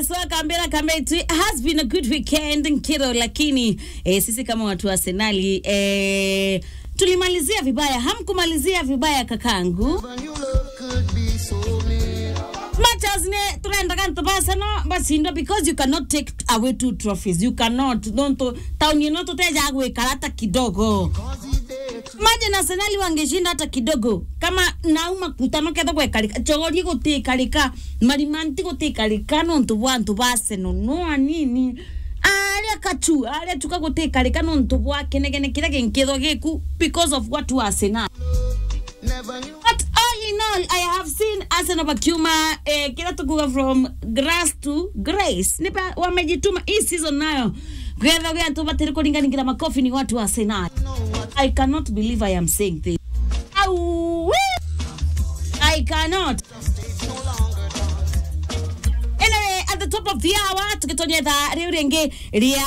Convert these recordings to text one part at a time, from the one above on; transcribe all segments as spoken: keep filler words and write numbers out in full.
So, kambira, kambira, it has been a good weekend, nkiro, lakini, eh, sisi kama watu wa Arsenali, eh, tulimalizia vibaya. Hamkumalizia vibaya, kakangu. Matches ne, turendaga antu ba Arsenal bacindwa, because you cannot take away two trophies. You cannot. Nontu, tauni ino tuteja gwikara hata kidogo. Imagine Arsenal wangeshinda hata kidogo. Kama nauma kutano ketho gwekarika, chogori gutikarika, marimanti gutikarika, nontu bwa antu ba Arsenal, no anini. Aria kachu, aria chuka gutikarika, nontu bwa kenegene kiria ginkithwa giku, because of what you Arsenal. But all in all, I have seen Arsenal bakiuma, eh, kila tukuga from grass to grace. Nipa wamejituma hii season nayo. Gwetha gwe antu batiri kuringaringira makofi ni watu wa Arsenal. I cannot believe I am saying this. Au, I cannot. Anyway, at the top of the hour, tukitonyetha riu ringi ria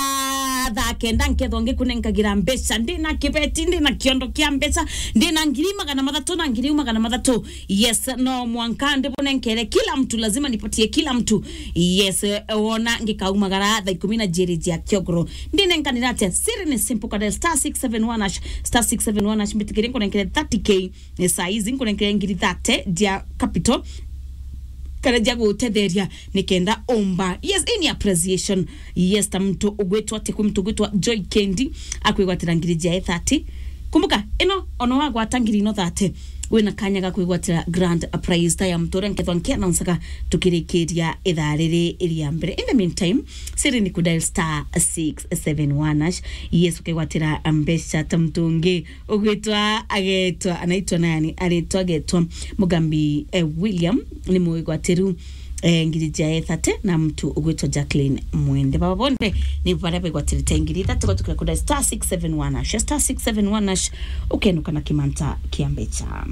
thaa kenda, nkethwa ngikunenkagira mbeca, ndina kibeti, ndina kiondo kia mbeca, ndina ngiri magana mathatu na ngiri magana mathatu. Yes, no mwanka ndibunenkere kila mtu, lazima nipatie kila mtu. Yes, eh, wona ngikaumagara thaa ikumi na jiri jia kiogoro. Ndinenkanira atia? Siri ni simple, kada star six seven one hash, star six seven one hash, mbitikire nkunenkere thirty K. Ni saa ici nkunenkere ngiri thirty jia capital, kana jia gutetheria nikenda umba. Yes, in appreciation. Yes, ta muntu ugwitwa ati, kwi muntu ugwitwa Joy Kendi, akwigwatira ngiri jia thirty. Kumbuka, ino, ona wagwata ngiri ino thirty, wina kanya ga kwigwatira grand prize ta ya muntu uria nkethwa nkiannouncaga tukirikiria ithaa riri ria mbere. In the meantime, siri ni kudial star six seven one hash. Yes, ukigwatira mbeca ta muntu ungi ugwitwa agetwa, anaitwa nani? Aritwa agetwa Mugambi, eh, William, ni mwigwatiru, eh, ngiri jia thirty, na mtu ugwitwa Jacqueline Mwende. Baba bonthe ni baria begwatirite ngiri thirty, gwatukira kuda star six seven one hash, star six seven one hash, ukenuka na kimanta kia mbeca.